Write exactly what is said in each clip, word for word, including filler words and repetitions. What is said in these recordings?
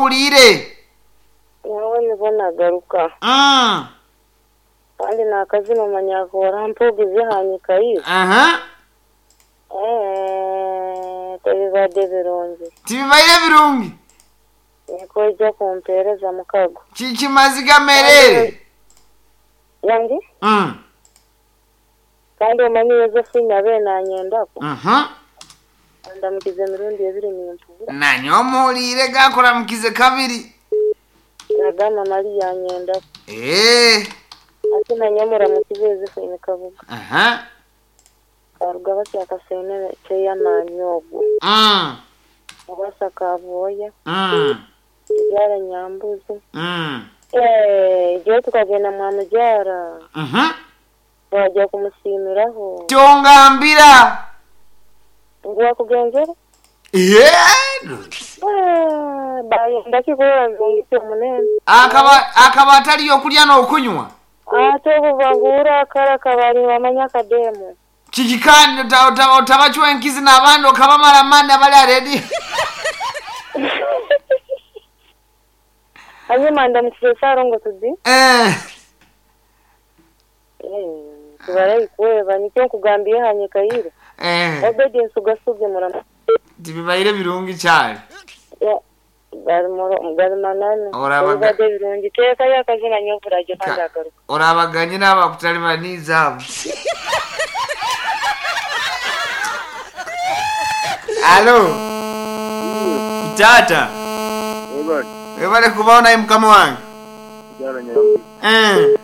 Owulire. Nyowe nibwo nagaruka. Mm. Kandi nakazina omanya mpugize hanyika iwe. Aha. Eh, tebibadde birungi. Tibibaire birungi. Nikoija kumpeereza mukago. Kikimaziga merere. Yangi? Mm. Kandi omanyi Yosephine abe nanyendako. Mhm. Andamukize emirundi ebiri nimpubura. Nanye omuwulire gakuramukize kabiri. Nagamba Mariya anyendako. Eh. Ate nanye muramukize Yosephine Kabuga. Aha. Karuga batya akasene kyeyamaanyi ogwo. Mm. Mubasa Kabwoya. Mm. Mubyara Nyambuzi. Mm. Eh, igihe tukagenda mwamubyara Mhm. wajya kumusimiraho Tyongambira. ngo wakugenzera Yeah. Eh, bayenda kikura nzungise munene Akaba akaba ataliyo okulya n'okunywa. ate obuvangura akara kabari bamanya akademu Kiki kandi ota- ota- otabacwa enkizi n'abandi okabamala amaani abali aredi. hanyuma ndamukize sarongo tudi Eh. tubarayi kweba nikyo nkugambiye hanyika yire Eh. obedi nsugasubye murama Tibibaire birungi cyane. Ya, gari muro- gari manane Orabaga- obibadde birungi teekayo akazina nyovuragyo kandi Ka- agaruka Orabaganye n'abakutalibaniza abo. Alo. Tata. Webale, Webale kubaho naye mukama wange. mukyala Nyambuzi. Eh.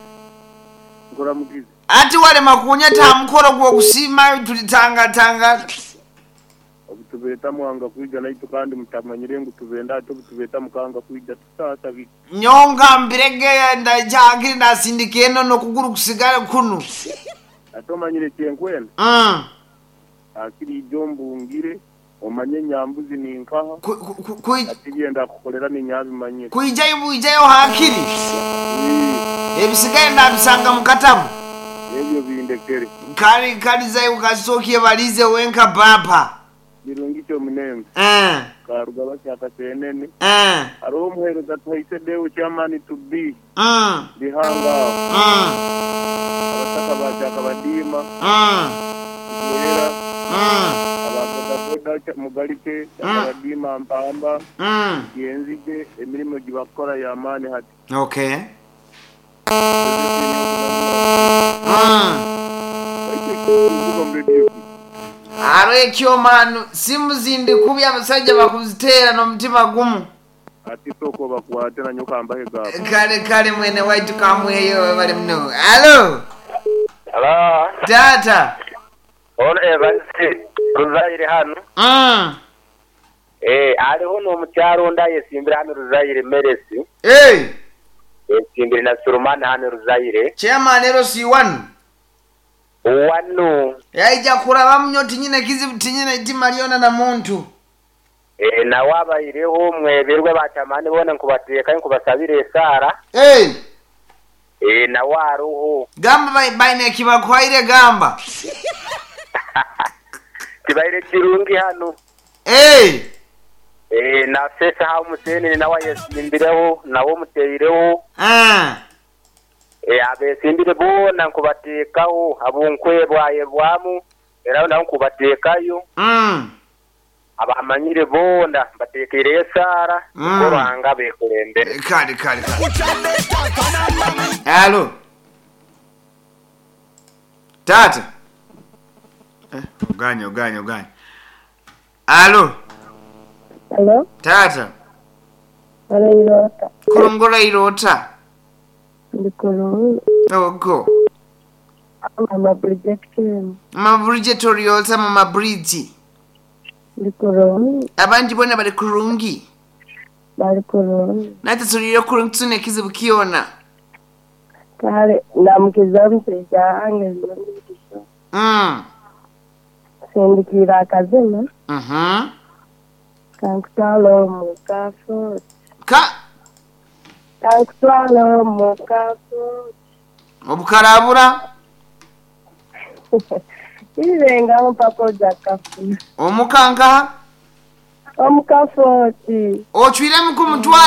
Nkola mugizi. Ati walema kunyeta mukoro gw'okusiima tulitangatanga. Obutubeeta mwanga kwija naitu kandi mutamanyire ngu tubenda ate obutubeeta mukanga kwija tusaasa biki. Nyonga mbirege ndakyakiri ndasindika eno n'okuguru kusigale kunu. Ate omanyire kyenkwenda Mm. akiri ijo mbungire omanye Nyambuzi ninkaha Ku- ku- ku- kui- ati byenda kukolera ninyabimanyire. Kwijayo bwijayo hakiri. Ebisigaye ndabisanga mu katabu. Ebyo bindekere. Kali kalizayo kasookie balize wenka bapa. Birungi kyomunenga Eh. karuga bakyakasenene Eh. hariho omuheereza tuhaise deo chairman to be Mm. lihanga aho Mm. abataka bakyakabadiima Mm. era Mm. ababodaboda mugalike abadiima mpamba Mm. yenzige emirimu gibakora yamaani hati. Okay. Mm. Aro ekyomanu simu zindi kubi abasajja bakuziteera n'omutima gumu. Ati soko bakwate nanyo kambahe gaabo. Kale kale mwene waitu kamweyo bali muno. Alo. Hello. Tata. Ono Evans Ruzaire hano. Mm. Eh, aliho n'omukyalo onda yesimbire hano Ruzaire Meresi. Hey, Yesimbire na Surumani hano Ruzaire. chairman ero si one. Wano Yaija kuraba munyo tinyine kizibu tinyine itima liona na muntu. eh, nawe abayireho mweberwe batamani bona nkubateeka nkubasabire esaara. Hey, Eh, nawe aruho. gamba bai- baine kibakwaire gamba. Kibaire kirungi hano. Hey, Eh, na sesa ha omusenene nawe yesimbireho nawe omuteireho. ah, Eh, abesimbire bona nkubateekaho abunkwebwayebwamu era nawe nkubateekayo. mm. Abamanyire bonda mbatekeire esaara Mm. korwanga bekulembere. Kale kale kale. Alo. Tata. Eh, oganye oganye oganye. Alo, Hello? tata. Arairota. Kurongora irota. Ndi kurungi. Ogo. Mama projection. Maburije toriota mama bridge. Ndi kurungi. Abandi bona bali kurungi. Bali kurungi. Nate tulire kurungi tune kizibu kiona. Kale ndamukiza omushaija wange nzungikiso. Mm. Sindikira akazina Mhm. kankutwala omu kafuuti. Ka Kankutwala omu kafuuti. obukarabura Irengaho mpaka oja kafuna. omukanka Omukafooti. Ocwiremu kumutwara.